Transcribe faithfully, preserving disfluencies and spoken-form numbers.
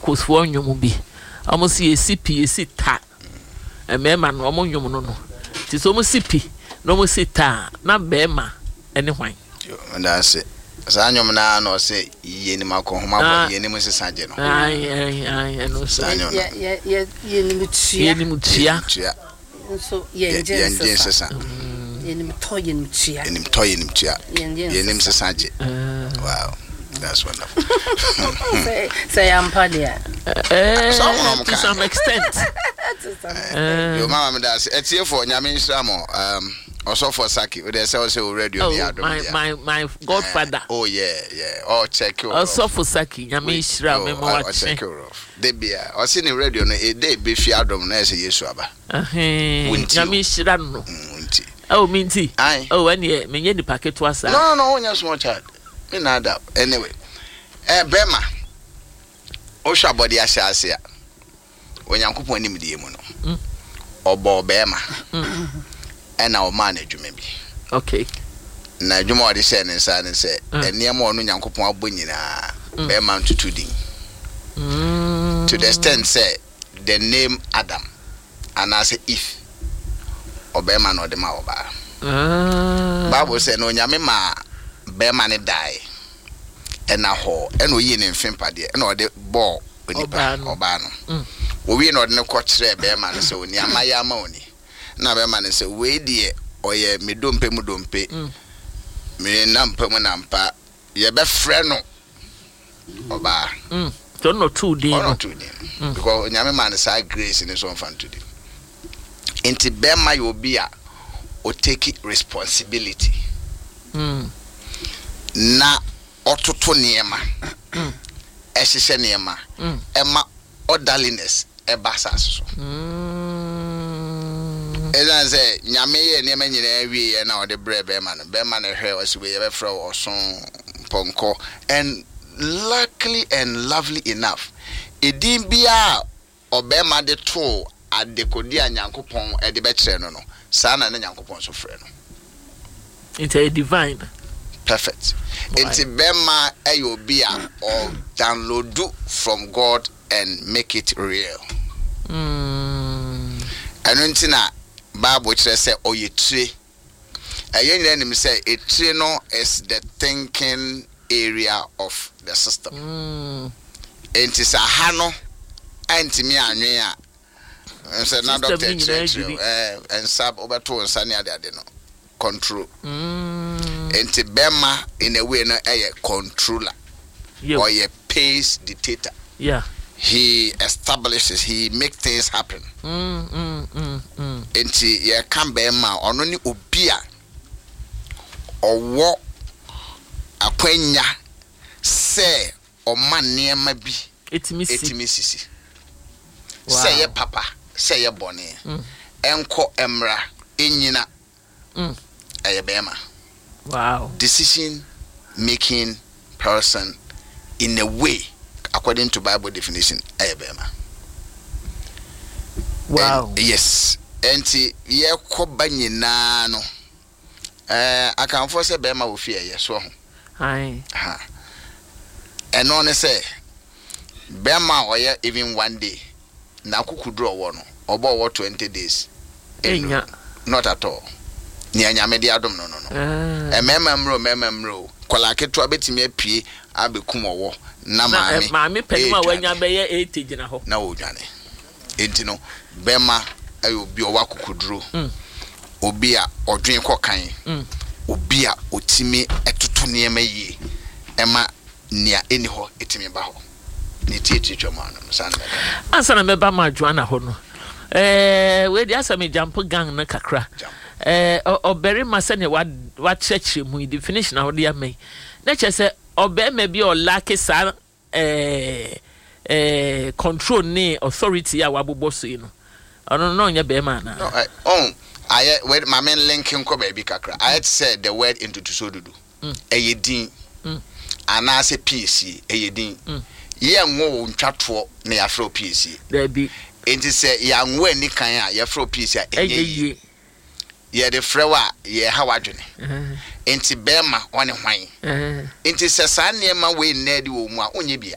Pentecost foɔ nnwom bi, ɔmo si yɛsi pi, yɛsi ta. Mmarima no, ɔmo nnwom no no nti sɛ ɔmo si pi na ɔmo si ta a, na bɛrima ɛne hwan? Yo, meda ase. Saa nnwom no ara na ɔsɛ yɛnim akɔhoma Ah. bɔ yɛnim nsesa gye no. Ayi, ayi, ayi, ɛno nso. Saa nnwom no. Yɛ- yɛ- yɛ- yɛnim tua. Yɛnim tua. Tua. Nso Yɛ- yɛngye yɛngye nsesa. nsesa. Yɛnim tɔ, yɛnim tua. Yɛnim tɔ, yɛnim tua. Yɛngye yɛnim nsesa. sesa gye. Wow, that's wonderful. sɛ sɛ yɛampa deɛ. Eh, Sɛ ɔmo na ɔmo to ka. some extent. Yo, mama, meda ase. Atiefoɔ, Nyame nhyira mo. um, ɔsɔfoɔ Saki wode sɛ wo sɛ wo radio Oh, ne yɛ adom my deɛ. my my godfather. Oh yeah yeah oh, check you. Ɔsɔfo Saki, Nyame nhyira me ma wakye. Ɔcheck rough de bia ɔse ne radio no ɛda ɛbɛfi adom na ɛsɛ Yesu aba. Ɛhɛn, Wonti o. Nyame nhyira no. Mm, nti Oh, mi nti. Aye. Oh, ɛneɛ menyɛ nipa ketewa saa. no no no wonyɛ small child, me na ada. Anyway, eh, bɛrima, wohwɛ abɔde ahyɛ ase a, Onyankopɔn nimdeɛ mu no, Mm. ɔbɔɔ bɛrima ɛna ɔmaa no adwuma bi. Okay na adwuma a ɔde hyɛɛ ne nsa ne sɛ Mm. nneɛma a ɔno Nyankopɔn abɔ nyinaa, bɛrima ntutu din Mm. to the extent sɛ the name Adam anaasɛ Eve, ɔbɛrima na ɔde ma ɔbaa. Ah. Bible sɛ na Onyame maa bɛrima ne dae ɛna hɔ ɛna oyii ne mfe mpadeɛ ɛna ɔde bɔɔ onipa. Ɔbaa no. Ɔbaa no. Mm. Owie na ɔde no kɔ kyerɛɛ bɛrima no sɛ oni ama yɛ ama oni na bɛrima no sɛ wei deɛ ɔyɛ me dompe mu dompe, Mm. me nampa mu nampa, yɛbɛfrɛ no ɔbaa. Mm. Nti ɔno na ɔtoo din ɔno no. ɔtoo din because Onyame maa no saa grace ne so ɔmfa nto din. Nti bɛrima yɛ obi a ɔtake responsibility Mm. na ɔtoto nneɛma, ɛhyehyɛ nneɛma, Mm. ɛma orderliness ɛba asase so. Mm. Ɛsiane sɛ Nyame yɛ nneɛma nyinaa wieɛ na ɔde brɛ bɛrima no, bɛrima no hwɛ, ɔsɛ wei yɛbɛfrɛ wo ɔso mpɔnkɔ. And luckily and lovely enough, ɛdin biaa ɔbɛrima de too adekode a Nyankopɔn ɛde bɛkyerɛ no no saa na ne Nyankopɔn nso frɛ no. Nti ɛyɛ divine. Perfect. Why? Nti bɛrima ɛyɛ obi a ɔ download from God and make it real. Mm. Ɛno nti na Bible kyerɛ sɛ ɔyɛ tire. Ɛyɛ nyinaa nim sɛ etire no is the thinking area of the system. Mm. Nti sɛ aha no antumi anwen a sɛ na System doctor no nyinaa kyerɛkyerɛ dwiri. ɛɛ nsa wobɛto wo nsa ne adeade no control. Mm. Nti bɛrima in a way no ɛyɛ controller. Yo. Ɔyɛ pace dictator. Yeah. He establishes, he make things happen. Mm, mm, mm, mm. Nti yɛka bɛrima a, ɔno ne obi a ɔwɔ akwanya sɛ ɔma nneɛma bi Ɛtumi si. ɛtumi sisi. Wow. Sɛ ɛyɛ papa, sɛ ɛyɛ bɔne, Mm. ɛnkɔ mmra ɛnyina, Mm. ɛyɛ bɛrima. Wow. Decision making person in a way, according to Bible definition, ɛyɛ bɛrima. Wow. And, yes, ɛnti yɛkɔ ba nyinaa no, ɛɛ Akanfoɔ sɛ bɛrima wɔ fie ɛyɛ so ho. Aye. Ha, ɛno ne sɛ bɛrima a ɔyɛ even one day na akokuduro ɔwɔ no, ɔbɔ ɔwɔ twenty days Ɛnya. Not at all. Nea Nyame de adom no no no Ah. Mmarima mmerɛ o, mmarima mmerɛ o, kɔla ketewa bɛtumi apue abɛkum ɔwɔ na Na maame eh, maame panin a ɛredwane. wanya bɛyɛ eighty gyina hɔ. Na wɔdwane. Enti no bɛrima ɛyɛ obi a ɔwɔ akokoduro, Mm. obi a ɔdwen kɔ kan, Mm. obi a ɔtumi ɛtoto nneɛma yie ɛma nea ɛni hɔ ɛtumi ba hɔ ne tietie twam ano no saa na mɛka. Ansa na mɛba ma Joanna hɔ no, ɛɛ wei deɛ asɛ me jump gang no kakra. Jump. ɛɛ ɔ- ɔbarima sɛnea wa wakyerɛkyerɛ mu yi, definition a wɔde ama yi na kyerɛ sɛ ɔbarima bi a ɔlack saa ɛɛ ɛɛ control ne authority a wabobɔ so yi no, ɔno no na ɔnyɛ barima anaa? No, ɛ, ɔn ayɛ wɛ maame link nkɔ baabi kakra. Ayɛ te sɛ the word ntotoso dudu, ɛyɛ din, Mm. anaasɛ piesie ɛyɛ din. Mm. Yɛnwo wo ntwatoɔ na yɛafrɛ wo piesie. Daabi. Enti sɛ yɛanwo ani kan a yɛfrɛ wo piesie a, ɛnyɛ ɛnyɛ yie. Yie. Yɛde frɛ wo a, yɛha w'adwene. Ɛhɛn, Enti bɛrima ɔne hwan? Ɛhɛn. Nti sɛ saa nneɛma wei nnɛ adi wɔ mu a, wonyɛ bia.